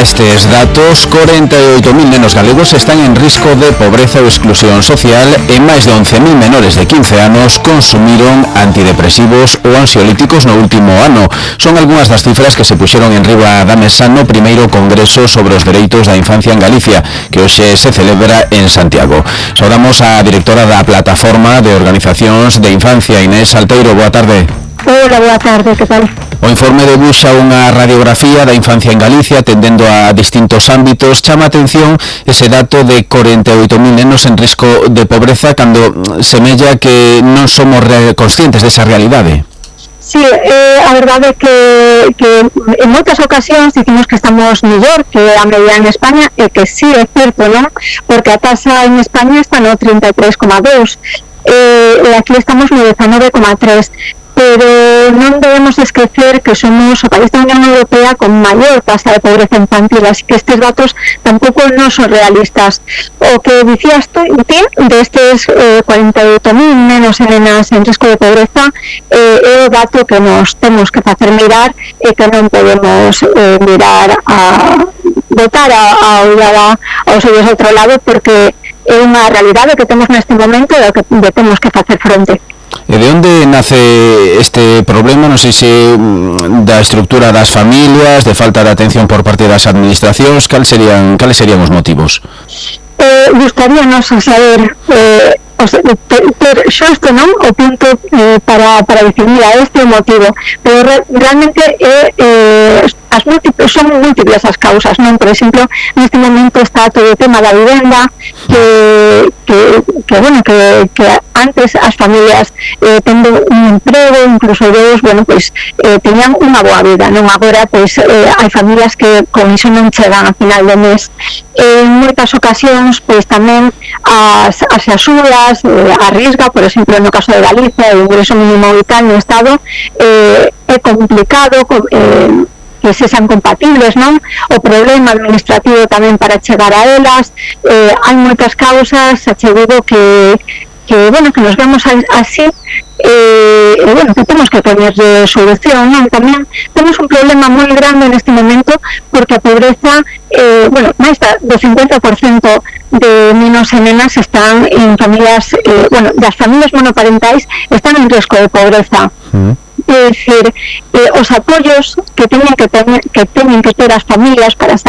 estes datos, 48.000 nenos galegos están en risco de pobreza ou exclusión social e máis de 11.000 menores de 15 anos consumiron antidepresivos ou ansiolíticos no último ano. Son algunhas das cifras que se puxeron en riba da mesa no primeiro Congreso sobre os Dereitos da Infancia en Galicia, que hoxe se celebra en Santiago. Saudamos a directora da Plataforma de Organizacións de Infancia, Inés Salteiro. Boa tarde. Hola, boa tarde, que tal? O informe debuxa unha radiografía da infancia en Galicia atendendo a distintos ámbitos. Chama a atención ese dato de 48.000 nenos en risco de pobreza cando semella que non somos conscientes desa realidade. Sí, a verdade é que en moitas ocasións dicimos que estamos mellor que a media en España, e que sí, é certo, non? Porque a tasa en España está no 33,2 e aquí estamos no 19,3. Pero non debemos esquecer que somos o país da Unión Europea con maior tasa de pobreza infantil, así que estes datos tampouco non son realistas. O que dicías ti destes 48.000 nenos e nenas en risco de pobreza é o dato que nos temos que facer mirar e que non podemos mirar a botar a olhar aos ollos outro lado, porque é unha realidade que temos neste momento e que temos que facer fronte. E de onde nace este problema? Non sei se da estructura das familias, de falta de atención por parte das administracións. Cales serían os motivos? Gustaríanos saber ter xusto, non, o punto para dicir, mira, este é o motivo, pero realmente son múltiples as causas, non? Por exemplo, neste momento está todo o tema da vivenda, que antes as familias tendo un emprego, incluso deus, teñan unha boa vida, non? Agora, hai familias que con iso non chegan a final do mes. En moitas ocasións, tamén as axudas, a risga, por exemplo, no caso de Galicia, o ingreso mínimo vital no Estado, é complicado que se sean compatibles, non? O problema administrativo tamén para chegar a elas, hai moitas causas, xa digo que nos vemos así, que temos que poner solución, non? Tamén temos un problema moi grande neste momento, porque a pobreza, máis do 50% de nenos e nenas están en familias, das familias monoparentais están en risco de pobreza. É dicir, os apoios que teñen que ter as familias para